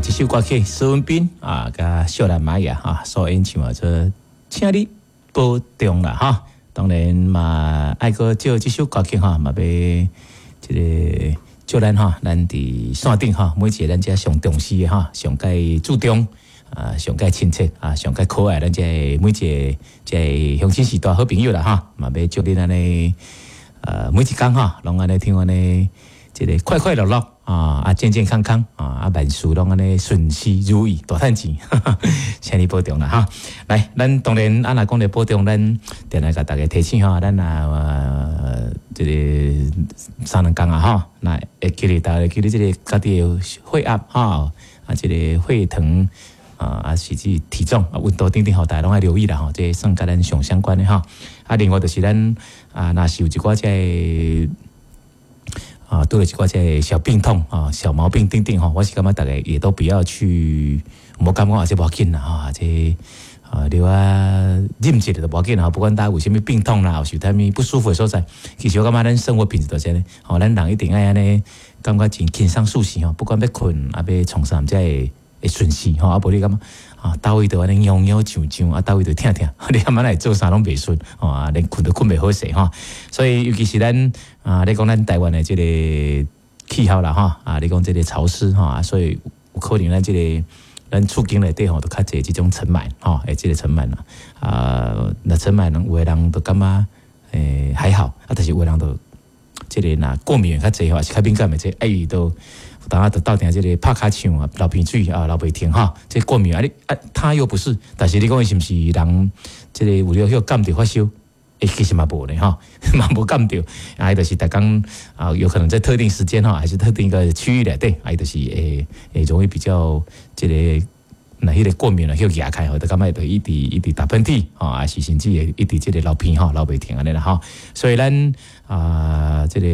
這首歌曲施文彬啊，佮秀蘭瑪雅哈所演唱的這請你保重啦哈。當然嘛，愛閣借這首歌曲哈，嘛欲這个祝咱哈，咱佇線頂哈，每一个咱遮上重視的哈，上蓋注重啊，上蓋親切啊，上蓋可愛，咱這每一个這鄉親序大好朋友啦哈，嘛欲祝恁按呢，每一工哈，攏按呢聽按呢，這个快快樂樂啊，啊健健康康啊，啊萬事攏按呢順遂如意，大趁錢，請你保重啦哈。來，咱當然啊，若講著保重，咱定來共大家提醒吼，咱啊，這个三兩工啊吼，那會記得大家記得這个家己的血壓吼，啊，這个血糖啊，啊，甚至體重啊、溫度等等吼，大家攏愛留意啦吼，這算佮咱上相關的吼。啊，另外就是咱啊，若是有一寡這个啊，拄著一寡這个小病痛啊、小毛病等等吼，我是感覺大家也都不要去，毋感覺啊，這無要緊啦吼，這啊，留啊忍一下就無要緊啦。不管大家有啥物病痛啦，有啥物不舒服的所在，其實我感覺咱生活品質就是按呢，吼，咱人一定愛按呢，感覺真輕鬆舒適吼，不管欲睏啊，欲創啥，才會會順勢吼，啊，無你感覺啊，佗位都按呢癢癢癢癢，啊，佗位都疼疼，你感覺來做啥攏袂順，吼啊，連睏都睏袂好勢吼。所以尤其是咱啊，你講咱台灣的這個氣候啦，吼啊，你講這個潮濕吼，所以有可能咱這個咱厝間內底吼，都較濟這種塵蟎吼，會這個塵蟎啦。啊，若塵蟎有的人就感覺還好，啊，但是有的人就這個若過敏較濟吼，是較敏感的這個，啊，伊都有當仔就鬥定這个拍尻槍啊，流鼻水啊，流袂停吼，這過敏啊，你啊，他又不是，但是你講伊是毋是人？這个有了彼感著發燒？欸，其實嘛無呢吼，嘛無感著，啊，伊就是逐工啊，有可能在特定時間吼，還是特定一個區域內底，啊，伊就是會會容易比較這个，若彼个過敏啊，彼壓開吼，就感覺就一直一直打噴嚏，吼，啊是甚至會一直這個流鼻吼，流袂停按呢啦吼。所以咱啊，這个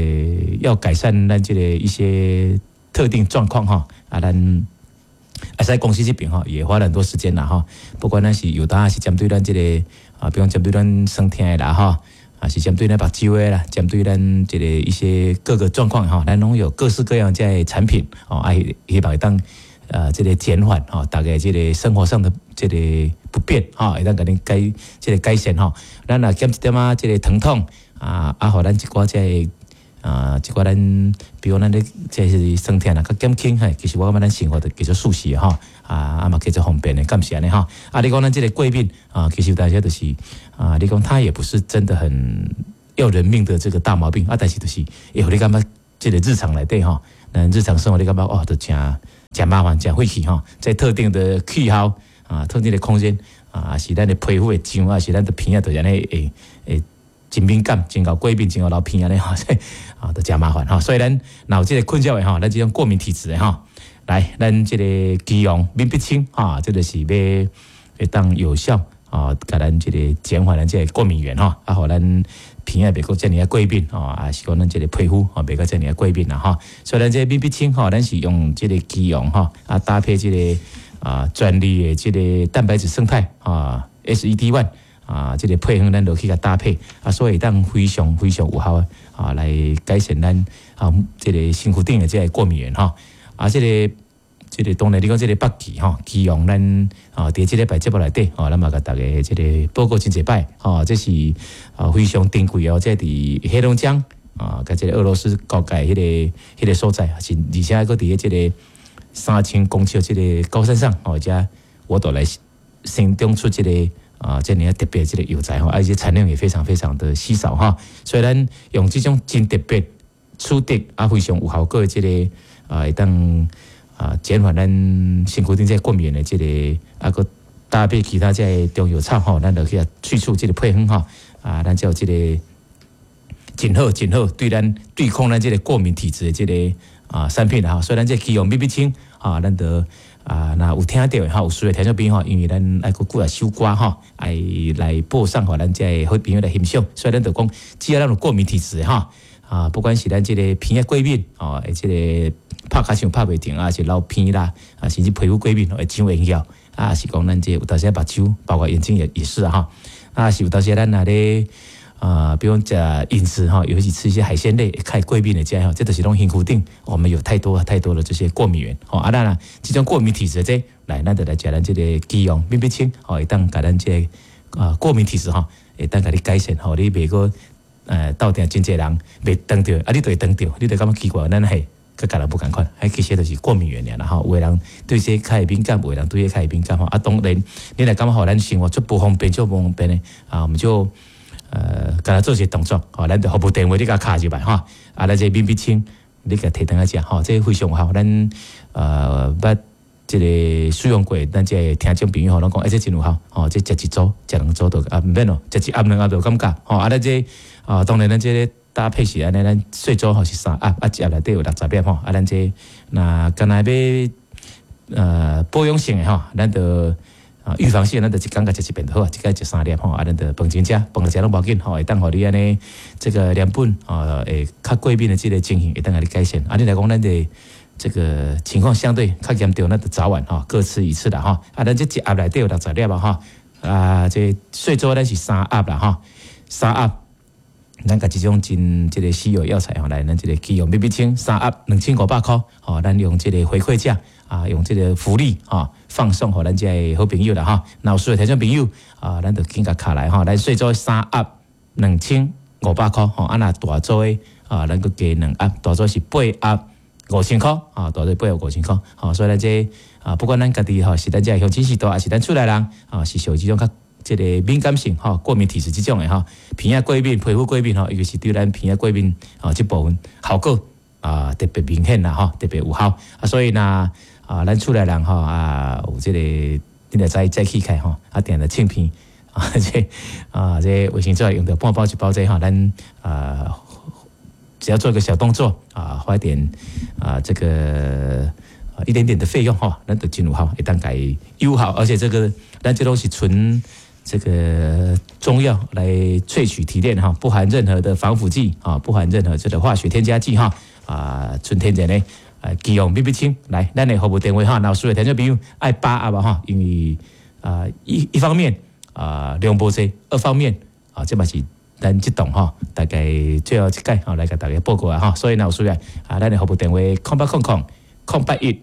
要改善咱這个一些特定狀況吼，啊，咱啊，在公司這邊吼，也花了很多時間啦吼。不管咱是有當是針對咱這个啊，比如講針對咱酸痛的啦吼，啊是針對咱目睭的啦，針對咱這个一些各個狀況吼，咱攏有各式各樣這个產品哦，啊希望會當這个減緩吼，大家這个生活上的這個不便吼，會當共恁改這个改善吼。咱若減一點仔這个疼痛啊，啊，予咱一寡這个啊，一寡咱，比如咱咧這是酸痛啦，較減輕嘿，其實我感覺咱生活就叫做舒適吼，啊啊嘛叫做方便的，敢是按呢吼？啊，你講咱這个過敏啊，其實有當時就是啊，你講它也不是真的很要人命的這個大毛病啊，但是就是會予你感覺這个日常內底吼，咱日常生活你感覺哦，都誠誠麻煩，誠費氣吼，在特定的氣候啊，特定的空間啊，是咱的皮膚會癢啊，是咱的鼻仔就按呢會會。真敏感，真𠢕過敏，真𠢕流鼻按呢吼，啊，都誠麻煩吼。所以咱若有這个困擾的吼，咱這種過敏體質的吼，來，咱這个基隆敏必清哈，這个是欲會當有效啊，共咱這个減緩咱這个過敏原吼，啊，予咱鼻仔袂閣遮爾仔過敏吼，啊是講咱這个皮膚吼袂閣遮爾仔過敏啦吼。所以咱這個敏必清吼，咱是用這个基隆吼，啊搭配這个啊專利的這个蛋白質勝肽啊 SED1。啊，這个配方咱落去共搭配啊，所以會當非常非常有效啊，來改善咱啊這个身軀頂的這个過敏原吼。啊，這个這个當然你講這个北芪吼，基隆咱啊，佇這禮拜節目內底吼，咱嘛共大家這个報告真濟擺吼，這是啊非常珍貴哦，這佇黑龍江啊，佮這个俄羅斯國界彼个彼个所在，是而且閣佇這个3000公尺這个高山上哦，遮我都來生長出這个啊，遮爾仔特別這个藥材吼，而且產量也非常非常的稀少哈，所以咱用這種真特別取得啊非常有效果的這个啊，會當啊減緩咱身軀頂這個過敏的這个啊，閣搭配其他這个中藥草吼，咱就去萃取這个配方吼，啊，咱才有這个真好真好對咱對抗咱這个過敏體質的這个啊產品啦，所以咱這個基隆敏必清啊，咱就啊，若有聽著的吼，有需要聽眾朋友吼，因為咱愛閣幾若首歌吼，愛來播送予咱這个好朋友來欣賞，所以咱就講，只要咱有過敏體質的吼，啊，不管是咱這个鼻仔過敏哦，這个拍尻槍拍袂停啊，是流鼻啦，啊，甚至皮膚過敏會長炎藥啊，是講咱這有當時目睭，包括眼睛也也是哈，啊，是有當時咱若咧啊，比如講食飲食哈，尤其吃一些海鮮類，較會過敏的這吼，這都是攏身軀頂，我們有太多太多的這些過敏原，吼啊，咱啊，這種過敏體質這來，咱就來食咱這個杞陽敏必清，吼，會當共咱這個過敏體質吼，會當共你改善，吼，你袂閣鬥定真濟人袂當著，啊，你就會當著，你就感覺奇怪，咱係佮共人無仝款，彼其實就是過敏原爾啦吼。有的人對這較會敏感，有的人對這較會敏感吼。啊，當然，你若感覺吼，咱生活足無方便，足無方便的啊，我們就共他做一個動作，吼，咱就服務電話你共敲入來吼，啊，咱這敏必清，你共提轉來食吼，這非常有效。咱捌這個使用過，咱這個聽眾朋友吼，攏講，欸，這真有效，吼，這食一組、食兩組就啊，毋免咯，食一盒兩盒就感覺，吼，啊，咱這啊，當然咱這個搭配是按呢，咱細組吼是三盒，啊，一盒內底有60粒吼，啊，咱這若干焦欲保養性的吼，咱就啊預防性，咱就一工共食一遍就好啊，一工食三粒吼，啊，咱就飯前食，飯後食攏無要緊吼，會當予你按呢這個連本啊會較過敏的這個情形會當共你改善。啊，你來講咱的這個情況相對較嚴重，咱就早晚吼各吃一次啦吼。啊，咱這一盒內底有60粒啊吼，啊，這細組咱是三盒啦吼，三盒。咱共這種真這個稀有藥材吼，來咱這個杞陽敏必清三盒2500箍，吼，咱用這個回饋價啊，用這個福利吼，放送予咱這個好朋友啦吼。若有需要聽眾朋友啊，咱就緊共敲來吼，咱細組三盒2500箍吼，啊若大組的啊，咱閣加兩盒，大組是八盒5000箍啊，大組八盒5000箍，吼，所以咱這啊，不管咱家己吼是咱這鄉親序大，抑是咱厝內人啊，是屬於這種較這個敏感性吼，過敏體質這種的吼，鼻仔過敏、皮膚過敏吼，尤其是對咱鼻仔過敏吼這部分效果啊特別明顯啦吼，特別有效啊，所以呢啊，咱厝內人吼啊有這個，你若早早起來吼，啊定定擤鼻啊這啊這衛生紙用著半包一包這吼，咱啊只要做一個小動作啊，花一點啊這個一點點的費用吼，咱就真有效，會當共有效，而且這個咱這攏是純這個中藥來萃取提煉哈，不含任何的防腐劑啊，不含任何這個化學添加劑哈啊，純天然的啊，杞陽敏必清來，咱的服務電話哈，若有需要聽眾朋友愛八盒哈，因為啊一方面啊量無濟，二方面啊這嘛是咱這檔哈，大概最後一擺吼來共大家報告啊哈，所以若有需要啊，咱的服務電話0800 081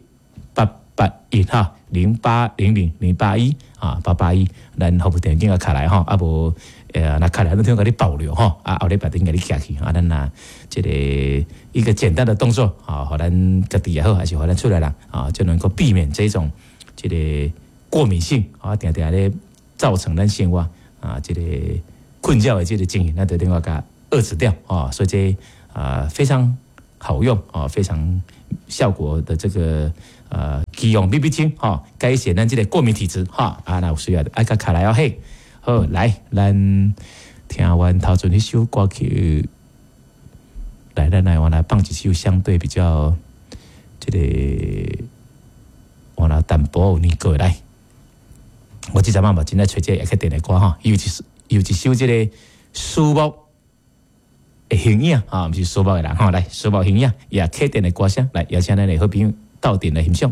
881哈，0800 081啊881，咱服務電話緊共敲來吼，啊無若敲來，咱聽共你保留吼，啊後禮拜轉共你寄去，啊咱若這個一個簡單的動作啊，予咱家己也好，還是予咱厝內人啊，就能夠避免這種這個過敏性啊，定定咧造成咱生活啊這個困擾的這個情形，咱就能夠共遏制掉啊，所以這啊非常好用啊，非常效果的這個。杞陽敏必清吼，改善咱這個過敏體質吼，啊，若有需要的，愛共敲來哦嘿，好來，咱聽完頭前彼首歌曲，來，咱來我來放一首相對比較這個我來淡薄有年過來，我這陣仔嘛真愛揣這個客電的歌吼，有一首這個樹木的形影啊，毋是樹木的人吼，來樹木形影，也客電的歌聲，來邀請咱的好朋友鬥陣來欣賞。